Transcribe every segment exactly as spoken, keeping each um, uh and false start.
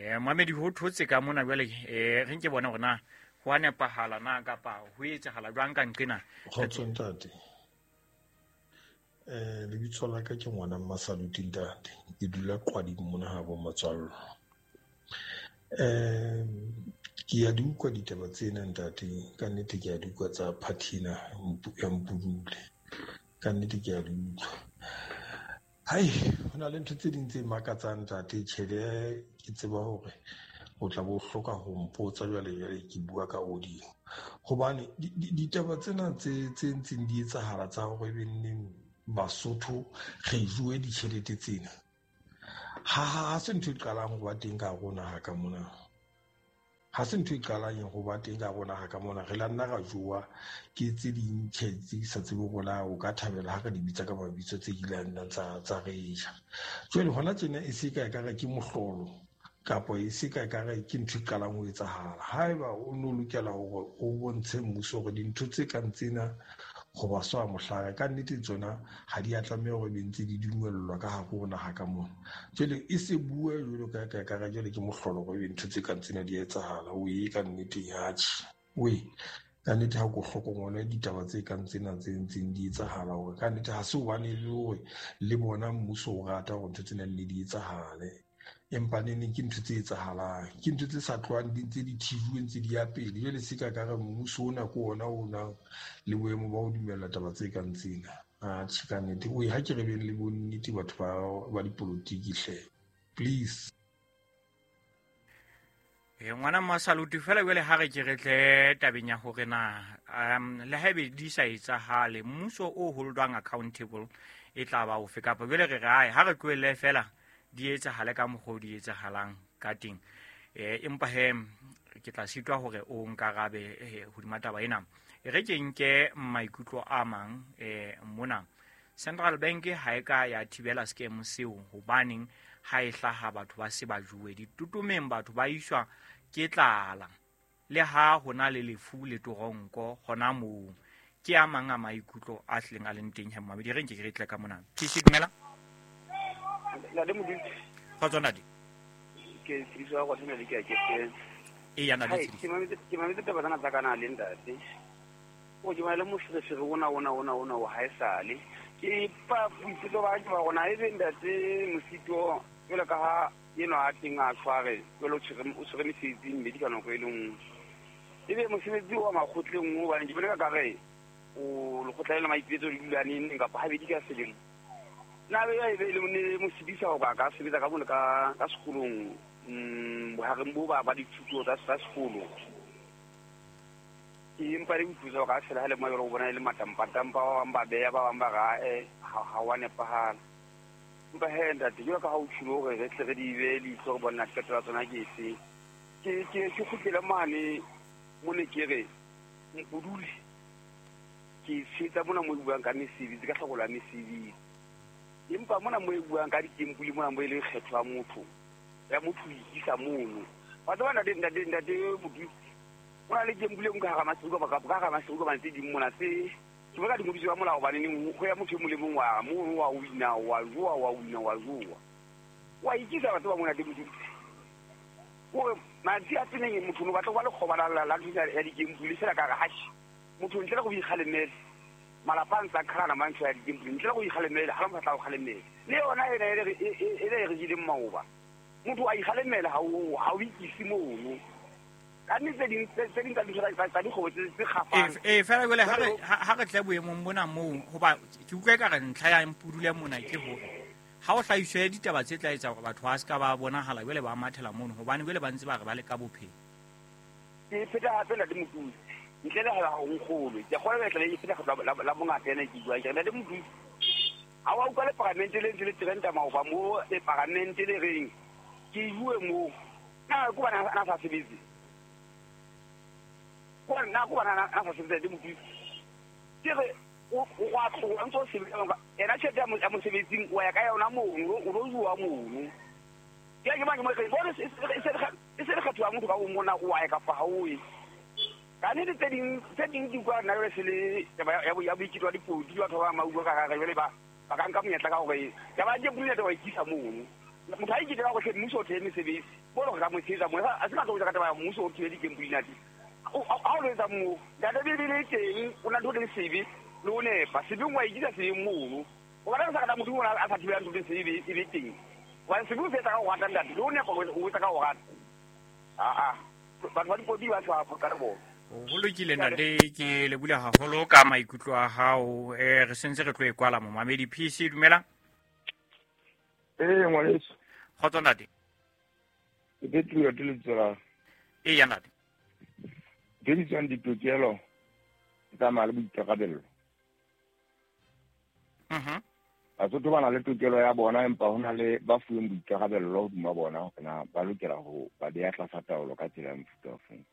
Eh Mohamedi ho thotse ka mona jwale eh re nke bona hore na ho a nepahala na kapa ho etsahala jwang ka nqena. Kgotso ntate. Eh lebitso la ka ke ngwana Mmasaluti ntate. Ke dula Qwading mona ha bo Matswallo. Eh ke ya di utlwa ditaba tsena ntate, ka nnete ke ya di utlwa tsa Phathina ya Mpudule. Ka nnete ke ya di utlwa. Hai, ho na le ntho tse ding tse makatsang ntate, tjhele ke tseba hore o tla bo hloka ho mpotsa jwale jwale ke bua ka audio. Hobane ditaba tsena tse tse ntseng di etsahala tsa hore ebe nneng Basotho re jowe ditjhelete tsena. Ha ha se ntho e qalang ho ba teng ka rona ha ka mona. Ha se ntho e qalang ho ba teng ka rona ha ka mona, re la nna ra jowa ke tse ding tjhe tse sa tsebe hore o ka thabela ha re di bitsa ka mabitso tse kileng tsa tsa re ja. Jwale hona tjena e se ka e ka re ke mohlolo kapa e se ka e ka re ke ntho e qalang ho etsahala. Haeba o no lokela hore o bontshe mmuso hore dintho tse kang tsena ho ba swa mohlare ka nnete tsona ha di a tlameha hore be ntse di dumellwa ka hare ho naha ka mona. Jwale e se bue jwalo ka ka ka jwale ke mohlolo hore ebe ntho tse kang tsena di etsahala. O e ka nnete atjhe. O e ka nnete ha ko hlokomele ditaba tse kang tsena tse ntseng di etsahala hore ka nnete ha se hobane le hore le bona mmuso o rata hore ntho tsena nne di etsahale. Empa nene ke ntho tse etsahalang, ke ntho tse sa tlohang di ntse di thijuwe ntse di ya pele. Jwale se ka ka re mmuso ona ke ona o nang le boemo ba ho dumella taba tse kang tsena. Atjhe ka nnete, o ha ke re beng le bonnete batho ba ba dipolotiki hle. Please. E ngwana Mmasaluti fela jwale ha re ke re tle tabeng ya hore na um le haebe di sa etsahale mmuso o holdwang accountable e tla ba ofe kapa jwale re re ae ha re tlohelle fela di etsahale ka mokgwa di etsahalang ka teng. Eh empa he ke tla sitwa hore o nkarabe hodima taba ena. E re ke nke maikutlo a mang eh mona. Central Bank ha e ka ya thibela scam seo hobaneng ha e hlaha batho ba se ba juwe ditutumeng, batho ba iswa ke tlala le ha hona le lefu le toronko hona moo. Ke a mang a maikutlo a hleng a leng teng he mmamedi, re nke ke re tle ka mona. Ke se dumela Ntate Modise. Kgotso ntate. Ke tsebiswa go tshwana le ke a ke E ya ntate. Ke mametse ke mametse taba tsena tsa kana le ntate. O ke le moferefere ona ona ona ona o ha esale. Ke pa boitseto ba ke ba rona e be ntate Mosito jwalo ka ha eno a teng a tshware jwalo o tshwere o tshwere mesebetsi mmedi ka nako e le nngwe. Ebe mosebetsi wa makgotleng o bane ke bona ka re o lekgotla le maipetso le dula neng kapa habedi ka selemo. Na be e be le ne mosidisa ho ka ka sebetsa ka mona ka ka sekolong mm bohareng bo ba ba dithuto tsa tsa sekolo. Ke empa le utlwisa ka fela ha le mo go bona le matampa tampa ba bang ba beya ba bang ba ra eh ha ha wa nepahala. Empa he ntate jwalo ka ha o tshilo hore re tle re di be leihlo re bona qeto ya tsona ke efe. Ke ke ke kgutlele mane mo ne ke re Mpudule ke tshetsa mona mo buang ka mesebetsi ka hlokolo ya mesebetsi. Empa mona mo e buang ka dikempuli mona mo e leng kgetho ya motho ya motho o ikisa mono. Wa tseba ntate ntate ntate Modise o na le kempuli e nngwe ka hara Maseru kapa ka hara Maseru kapa tse ding mona tse ke bona di ngodiswe ka molao hobane neng ho ya motho e mong le mong wa mono wa wina wa jowa wa wina wa jowa. Wa ikisa batho ba mona ntate Modise. Hore matsi a tseneng motho no batla ho ba lekgoba la la ntho ya dikempuli fela ka re hashi motho ntle le go ikgalemele. Malapa a ntse a qhalana mantho ya dikempuli ntle le go ikgalemela ha le motho a tla go kgalemela. Le yona ena e re e re jeleng maoba. Motho a ikgalemela ha o ha o ikise mono. Ka nnete tse ding tse ding tsa dintho tsa dikgobo tse tse kgafang. Eh fela jwale ha re ha re tle boemong bona moo hoba ke utlwa ka re ntlha ya Mpudule mona ke hore ha o hlahiswe ditaba tse tla etsa hore batho ba se ka ba bonahala jwale ba mathela mono hobane jwale ba ntse ba re ba le ka bophelo. Ke pheta hape ntate Modise. Ntle le ha o nkgolwe ke kgolwa le e pheta la la bongata ena ke bua ke ntate Modise. Ha wa utlwa le paramente le ntse le trenda maoba mo le paramente le reng ke bue mo na ko bana ana sa sebetse. Ko na ko bana ana sa sebetse ntate Modise. Ke re o wa tloha ntse o sebetsa ena tjhelete ya mosebetsing o ya ka yona mono o lo jowa mono. Ke ke mang mo re bone se se se le kgetho ya motho ka o mona o wa ya kapa ha o ye. Ka nnete tse ding tse ding di utlwa nna jwale se le taba ya ya boiketlo wa dipolotiki batho ba ba utlwa ka hare jwale ba ba ka nka monyetla ka hore taba ya dipolotiki wa ikisa mono. Motho ha iketela hore mmuso o thehe mesebetsi bo le hore ka mo tshehetsa mo a se ka tlo ka taba ya mmuso o thibele di-gambling ate ha o lo etsa moo ntate Bibele e teng o na ntho le sebe le o nepa sebeng wa ikisa sebeng mono o batla sa ka motho o a sa thibelang ntho le sebe e be teng wa sebe o se etsa ka ho rata ntate le o nepa o etsa ka ho rata a a batho ba dipodi ba tshwa ka re bona. Ho lokile ntate, ke le bula haholo ka maikutlo a hao. Eh re sentse re tlo e kwala momamedi P C dumela. Eh ngwaneso. Kgotso ntate. Ke Petro ke lebitso la. E ya ntate. Ke ditswang ditokelo tsa le boikarabello. Mhm. Basotho ba na le tokelo ya bona empa ho na le ba fuweng boikarabello hodima bona hore na ba lokela ho ba beha tlasa taolo ka tsela ya mofuta ofeng.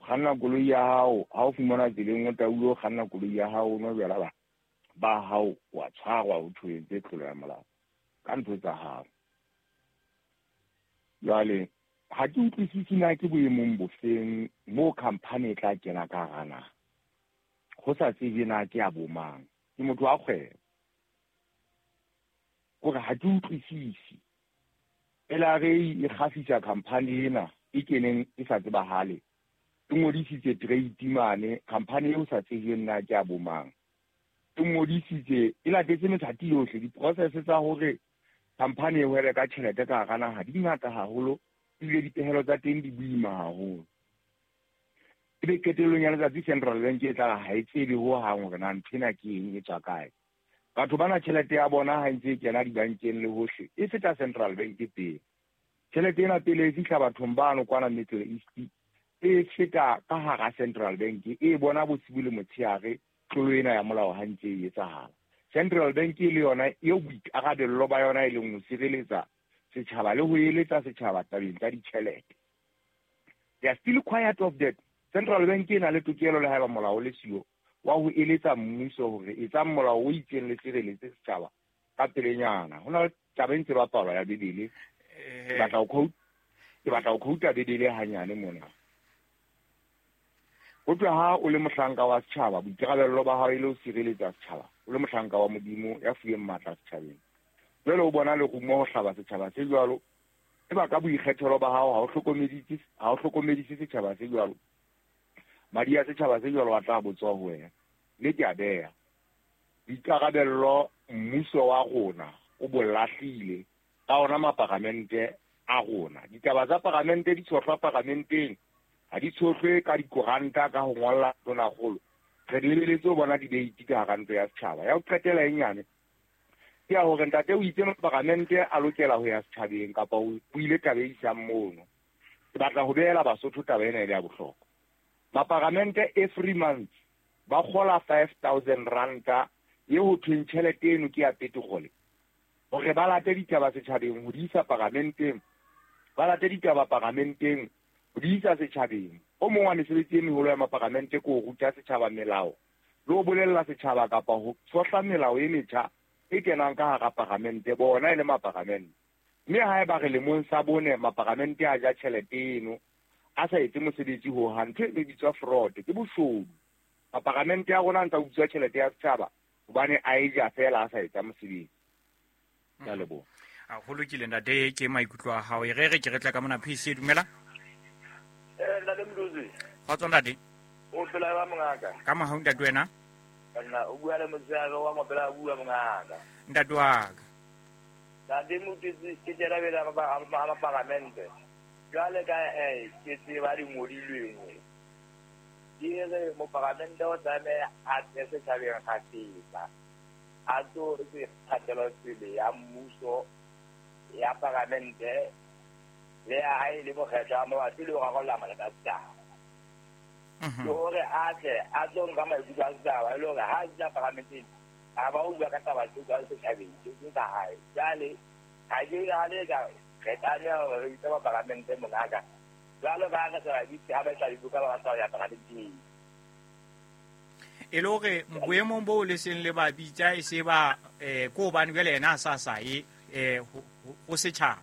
Kganna koloi ya hao ha o fumana tseleng o taulo o kganna koloi ya hao o nwa jwala ba ba hao wa tshwarwa ho thwe tlolo ya molao ka ntho tsa hao. Jwale ha ke utlwisisi na ke boemong bofeng moo khamphani e tla kena ka hara naha ho sa tsebe na ke ya bomang. Ke motho wa kgwebo kore ha ke utlwisisi L R A e kgafisa khamphani ena e keneng e sa tsebahale e ngodisitse trade mane khamphani eo sa tsejweng na ke ya bomang e ngodisitse e latetse methati yohle di-process tsa hore khamphani e hwebe ka tjhelete ka hara naha di ngata haholo ebile dipehelo tsa teng di boima haholo. Ebe qetellong ya letsatsi Central Bank e tla ha e tsebe ho hang hore na ntho ena ke eng e tswa kae. Batho bana tjhelete ya bona ha ntse e kena dibankeng le hohle e feta Central Bank pele. Tjhelete ena pele e fihla bathong bano kwana Middle East e feta ka hara Central Bank e bona bosibu le motshehare tlolo ena ya molao ha ntse e etsahala. Central Bank le yona eo boikarabello ba yona e leng ho sireletsa setjhaba le ho eletsa setjhaba tabeng tsa ditjhelete. They are still quiet of that. Central Bank e na le tokelo le haeba molao le siyo wa ho eletsa mmuso hore etsang molao o itseng le sireletse setjhaba ka pelenyana. Ho na le taba e ntse bapalwa ya Bibele. Ke batla ho quote, ke batla ho quote Bibele hanyane mona. Ho tloha ha o le mohlanka wa setjhaba, boikarabello ba hao e le ho sireletsa setjhaba. O le mohlanka wa Modimo ya fuweng matla setjhabeng. Jwale o bona lerumo ho hlaba setjhaba se jwalo. Eba ka boikgethelo ba hao ha o hlokomedise, ha o hlokomedise setjhaba se jwalo. Madi a setjhaba se jwalo a tla botswa ho wena. Le ke a beha. Boikarabello mmuso wa rona o bo lahlile ka ona maparamente a rona. Ditaba tsa paramente di tshohlwa paramenteng, ha di tshohlwe ka dikoranta ka ho ngolla tonakgolo. Re di lebeletse ho bona debate ka hara ntlo ya setjhaba. Ya ho qetela e nyane ke ya hore ntate o itse maparamente a lokela ho ya setjhabeng kapa o buile taba e isang mono. Ke batla ho behela Basotho taba ena e le ya bohlokwa. Maparamente every month ba kgola five thousand ranta e ho thweng tjhelete eno ke ya petrole hore ba late ditaba setjhabeng ho di isa paramenteng, ba late ditaba paramenteng ho di isa setjhabeng. O mong wa mesebetsi e meholo ya maparamente ke ho ruta setjhaba melao le ho bolella setjhaba kapa ho tshohla melao e metjha e kenang ka hara paramente bona e le maparamente. Mme haeba re lemong sa bone maparamente a ja tjhelete eno a sa etse mosebetsi ho hang, ntho e bitswa fraud, ke boshodu. Maparamente a rona a ntsa utswa tjhelete ya setjhaba hobane a e ja feela a sa etsa mosebetsi. Ke a leboha. A ho lokile ntate, ke maikutlo a hao. E re re ke re tla ka mona P C dumela. Eh ntate Mduzi. Kgotso ntate. O phela ba mongaka. Ka mohau ntate wena. Nna o bua le motshehare wa mopela bua mongaka. Ntate wa ka. Ntate Mduzi ke tjela bela ba ba paramente. Jwale ka eh ke tseba di ngodilweng. Di re mo paramente o tlameha a tle setjhabeng kgafetsa. A tlo se kgatelo pele ya mmuso ya paramente le ya hae le mokgetlo wa mabapi le ho rarolla mathata a setjhaba. Ke hore a tle a tlo nka maikutlo a setjhaba e le hore ha a fihla paramenteng a ba o bua ka taba tse jwalo setjhabeng tse seng tsa hae. Jwale ha ke nahane ka re tlameha hore re bitse maparamente mongaka jwalo ka ha re sa ba bitse ha ba tla dibuka ba batla ho ya paramenteng. E le hore boemong bo le seng le ba bitsa e se ba eh ko hobane jwale yena a sa sa ye eh ho setjhaba.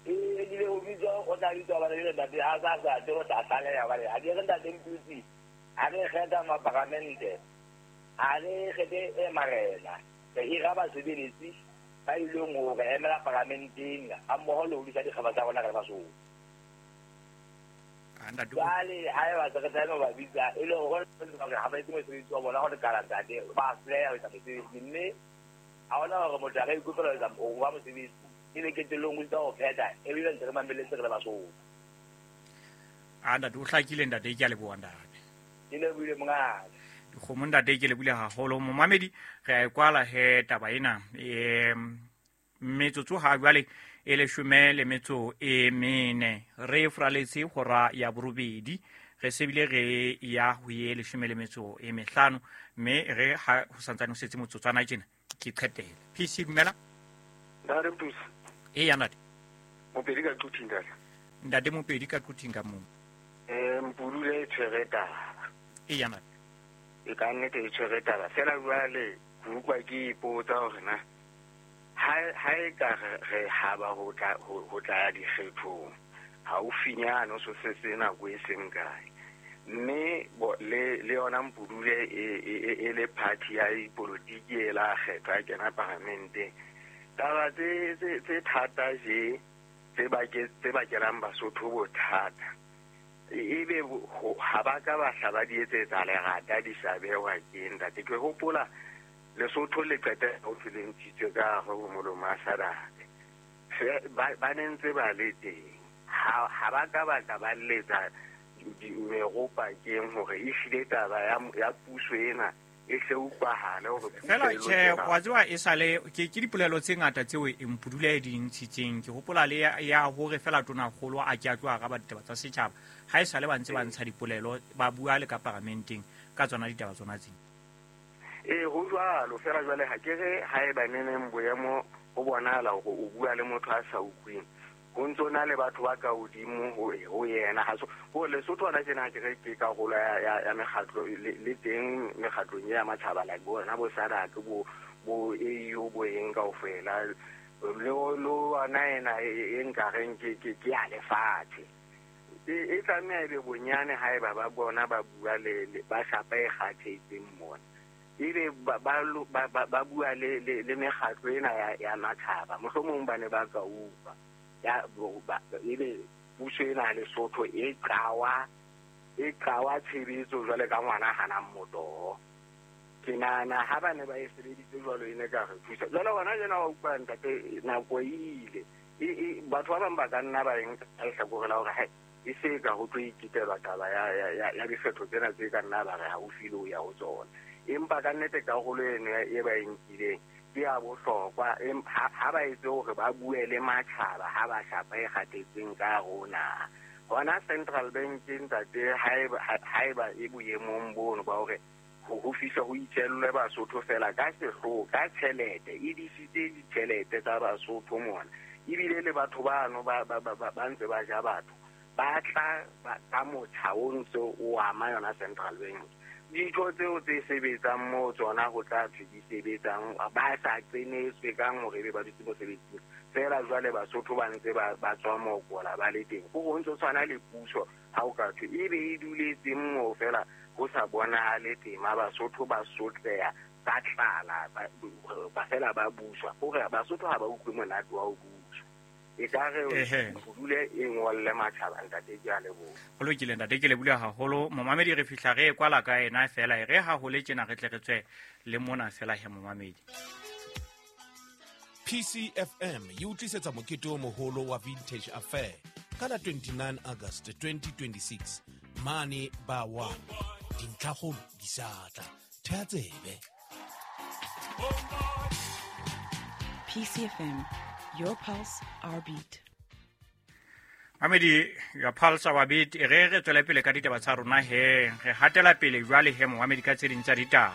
E ile ho bitswa o tla bitswa ba le ntate ha sa sa tlo tla tlaleha ba le ha ke re ntate Mduzi ha re kgetha maparamente ha re kgethe e marena re hira basebeletsi Ba ileng hore emela paramenteng ha mmoho le ho disa dikgaba tsa rona ka Basotho. Jwale ha eba se re tlameha ho ba bitsa e le hore ha ba etse mosebetsi wa bona ho lekala ntate ba hloleha ho etsa mosebetsi mme ha hona hore motho a ka ikopela ho etsa ho ba mosebetsi ebe qetellong o itsa ho phetha ebile ntse re mamelletse re le Basotho. A ntate o hlakile ntate ke a leboha ntate. Ke lebohile mongaka. Dikgomo ntate ke lebohile haholo momamedi re a e kwala he taba ena em metsotso ha jwale e leshome le metso e mene re fraletse hora ya borobedi re sebile re ya ho ye leshome le metso e mehlano mme re ha ho santsane ho setse motsotswana tjena ke qetele. P C dumela. Ntate Mpusi. E ya ntate. Mopedi ka Quthing ntate. Ntate Mopedi ka Quthing ka moo. Eh Mpudule e tshwere taba. E ya ntate. E ka nnete e tshwere taba fela jwale ke utlwa ke ipotsa hore na ha ha e ka re haba ho tla ho tla ya dikgethong haufinyane so se se nako e seng kae mme le le yona Mpudule e e le party ya dipolotiki e la kgethwa ya kena paramenteng taba tse tse tse thata je tse bake tse bakelang Basotho bothata ebe ha ba ka ba hla ba di etsetsa lerata di sa behwa ke ntate. Ke hopola Lesotho le qete ho le ntshitswe ka hare ho molomo a Sadaka ba ne ntse ba le teng ha ha ba ka ba ka ba letsa meropa keng hore e hlile taba ya ya puso ena e hle utlwahale hore fela tjhe wa tseba e sale ke ke dipolelo tse ngata tseo e Mpudule di ntshitseng ke hopola le ya hore fela tonakgolo a ke a tlo araba ditaba tsa setjhaba ha e sale ba ntse ba ntsha dipolelo ba bua le ka paramenteng ka tsona ditaba tsona tsena. E ho jwalo fela jwale ha ke re ha e ba neneng boemo ho bonahala hore o bua le motho a sa utlweng ho ntso na le batho ba ka hodimo ho ho yena ha so ho Lesotho hona tjena ke re ke karolo ya ya, ya mekgatlo le, le teng mekgatlong ya matjhaba like bona bo SADC bo bo A U bo eng kaofela le le ona ena e nkareng ke ke ke ya lefatshe e e tlameha ebe bonyane ha eba ba bona ba bua le ba shapa e kgathetseng mona ebe ba ba ba bua le le mekgatlo ena ya ya matjhaba mohlomong ba ne ba ka utlwa ya ba ebe puso ena Lesotho e qawa e qawa tshebetso jwale ka ngwana hanang motoho ke nahana ha ba ne ba e sebeditse jwalo e ne ka re thusa jwale hona jena wa utlwa ntate nako e ile e batho ba bang ba ka nna ba eng ka lehlakore la hore e se ka ho tlo ikitelwa taba ya ya ya dikgetho tsena tse ka nna ba re haufi le ho ya ho tsona empa ka nnete karolo eno e ba e nkileng ke ya bohlokwa ha ba etse hore ba bue le matjhaba ha ba shapa e kgathetseng ka rona hona Central Bank ntate ha eba e boemong bono ba hore ho fihla ho itjellwe Basotho fela ka sehloho ka tjhelete e disitse ditjhelete tsa Basotho mona ebile le batho bano ba ba ba ntse ba ja batho ba tla ka motjha o ntse o ama yona Central Bank ditho tseo tse sebetsang mo tsona ho tla thwe di sebetsang ba sa qenetswe kang hore ebe ba dutse mosebetsing fela jwale Basotho ba ntse ba ba tswa mokola ba le teng ho ho ntse tshwana le puso ha o ka thwe ebe e duletseng moo fela ho sa bonahale tema Basotho ba sotleha ba tlala ba fela ba buswa hore Basotho ha ba utlwe monate wa ho buswa e ka re dule e ngolle matjhaba ntate ke a leboha. Ho lokile ntate ke lebohile haholo momamedi re fihla re kwala ka ena fela e re ha ho le tjena re tle re tswe le mona fela he momamedi. P C F M e utlisetsa mokete o moholo wa Vintage Affair ka la twenty-nine August twenty twenty-six mane ba one dintlhakgolo di sa tla thea tsebe. P C F M, your pulse, our beat. Mamedi, your pulse, our beat. E re re tswele pele ka ditaba tsa rona he. Re hatela pele jwale he momamedi ka tse ding tsa ditaba.